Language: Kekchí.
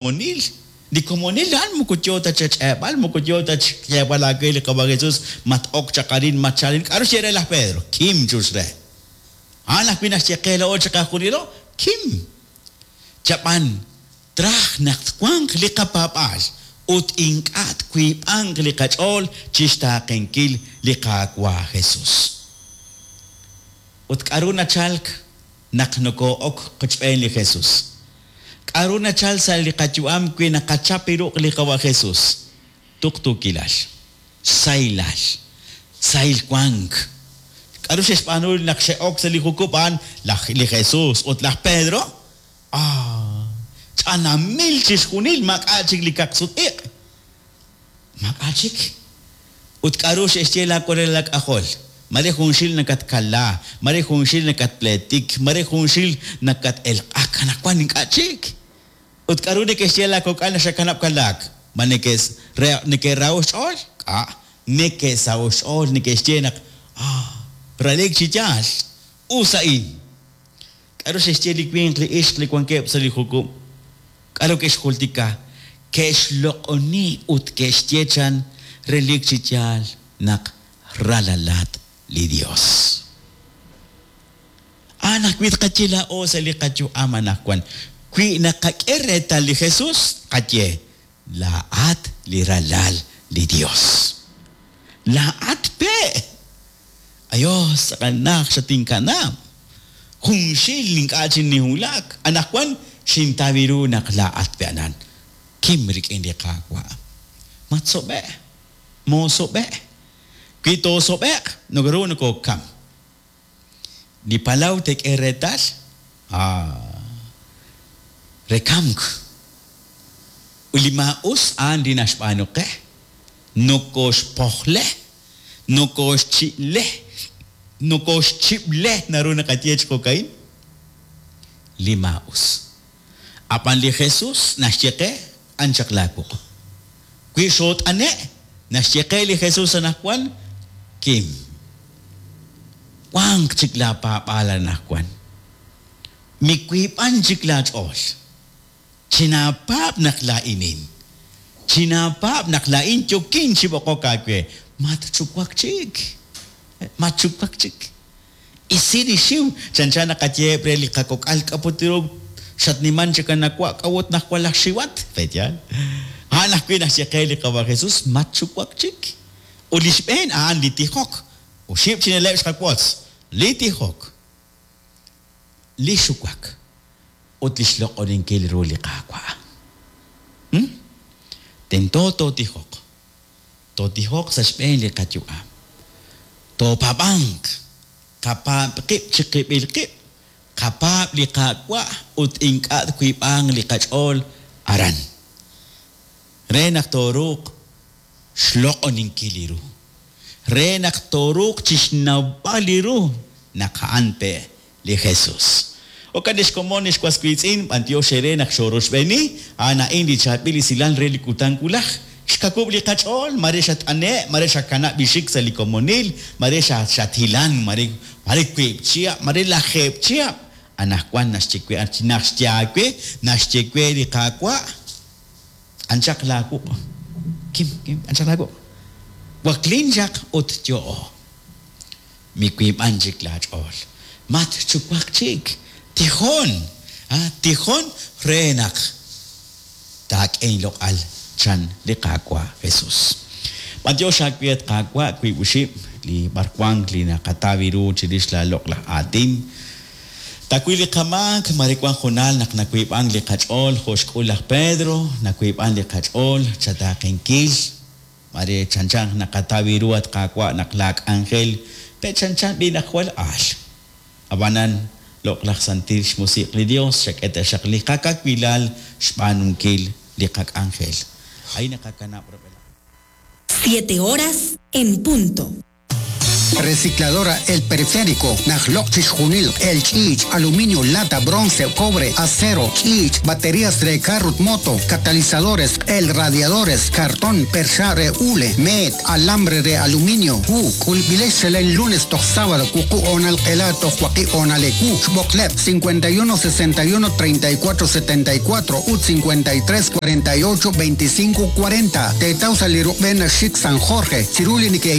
Komonil. Li komonil a'an moko yoo ta chach'eeb'al, moko yoo ta chxyeeb'al aawe li Qawa' Jesus, mat-ok chaq arin, matchalk arin. K'a'ru xye re laj Pedro? Kim, chux re. A'an ajwi' naxye qe laa'o chiqajunilo, Kim. Chab'an, traj naq twanq li qapaab'aal ut ink'a' twiib'anq li qach'ool chixtaaqenkil li Qaawa' Jesus. Ut k'a'ru nachalk naq nokoo'ok qochb'een li Jesus? K'a'ru nachal sa' li qayu'am wi naqachap li ruq' li Qawa' Jesus? Tuqtuukilal. Sahilal. Sahil wank. K'a'ru xe'xb'aanu naq xe'ok sa' li jukub' a'an laj li Jesus ut laj Pedro? Ah! Ch'anamil chixjunil, maak'a' chik li kaq-sut-iq'. Maak'a' chik. Ut k'a'ru xe'xye laa walal aak'ajol? Mare junxil nakatkala, mare junxil nakatpleetik, mare junxil nakat-elq'ak, anaqwan ink'a' chik. Ut k'a'ru neke'xye laa kok'al naq xakanab' kalaak? Ma neke'raho' xch'ool? K'a'. Neke'saho' xch'ool, neke'xye naq, Ah, relik chi yaal, us a'in. K'aru xe'xye li winq li ixq li wankeb' sa' li jukub'? K'aru ke'xjultika? Ke'xloq'oni ut ke'xye chan relik chi yaal naq ralalat li Yos. A'an ajwi' tqaye laa'o sa' li qayu'am anaqwan. Wi naqak'e reetal li Jesús, tqaye, Laa'at li Ralal li Yos. Laa'at pe'! Ayos, tz'aqal najt xatinkanab'. Junxil ink'a' chik ninwulak, anaqwan xintaw ru naq laa'at pe' anan. Kim rik'in li Qaawa'. Matsob'e', moosob'e'. Wi toosob'e'q, naru nokookam. Li palaw teek'e reetal, ah, re kamk. Ut li maa'us a'an li naxb'aanu qe, nokooxpojle. Nokooxchi'le, nokooxchib'le naru naqaye chi jo'ka'in, li maa'us. Ab'an li Jesus naxye qe, Q'an chaq laawuq'. Wi xoot'ane', naxye qe li Jesus anaqwan, Kim. Wanq chik laapaab'aal anaqwan. Miwiib'an chik laach'ool. Chinaapaab' naq laa'inin. Chinaapaab' naq laa'in yookin chi b'oqok aawe. Matxuwak chik. Matxuwak chik. Isi li xiw, chanchan naqayeheb' re li qakok'al k'a' put ru xatniman chik anawa' k'a'ut naq jwal aj xiwat. Pe'yaal? A'an ajwi' naxye qe li Qawa' Jesus, matxuwak chik. Ut li xb'een a'an li tijok. Oxib' chi na'leb' xqawotz, li tijok. Li xuwak ut li xloq'oninkil ru li Qaawa'. Hm? Tento tootijoq. Tootijoq sa' xb'een li qayu'am. Toopaab'anq. Qapaab' qib' chiqib'il qib'. Qapaab' li Qaawa' ut ink'a' twiib'anq li qach'ool aran. Re naq tooruuq xloq'oninkil li ru, re naq tooruuq chixnawb'al li ru naq a'an pe' li Jesus. Jo'kan ex komon, ex was wiitz'in, b'antiox eere naq xoorochb'eeni, a'an a'in li chaab'il esilal re li kutan wulaj. Xkawub' li qach'ool, mare xat'ane', mare xakanab' li xik sa' li komonil, mare xathilan, mare mare wiib' chihab', mare lajeeb' chihab'. Anajwan naxye we, naxye aawe, naxye we li Qaawa'. Anchaq laawuq'. Kim, kim, anchaq laawuq'. Waklin chaq ut yo'o. Miwiib'an chik laach'ool. Matxuwak chik. Tijon, a, tijon re naq taak'e inloq'al, chan li Qaawa' Jesus. B'antiox aawe, at Qaawa', wiib' oxib' li b'arwank li naqataw ru chirix laa loq'laj aatin. Taawil li qamaak, mare wank hoonal naq nawiib'ank li qach'ool jo' xk'ul laj Pedro, nawiib'ank li qach'ool chataaqenkil, mare chanchan naqataw ru at Qaawa' naq laa k'anjel pe' chanchan b'i' naq jwal aal. Ab'anan, loq'laj santil xmusiq' li Dios xak'e taxaq li qakawilal xb'aanunkil li qak'anjel. A'in naqakanab' rub'elaj. Siete horas en punto. Recicladora El Periférico, naj loq' chixjunil, el ch'iich', aluminio, lata, bronce, cobre, acero, ch'iich', baterías re carro moto, catalizadores, el radiadores, cartón, percha re hule, met, alambre re aluminio, hu, k'ulb'ilex chalen lunes toj sábado, wuqub' honal q'ela toj waqib' honal ewu, xb'oqleb' 51 61 34 74 ut 53 48 25 40. Teetaw sa' li rub'en xik San Jorge, chiru li neke.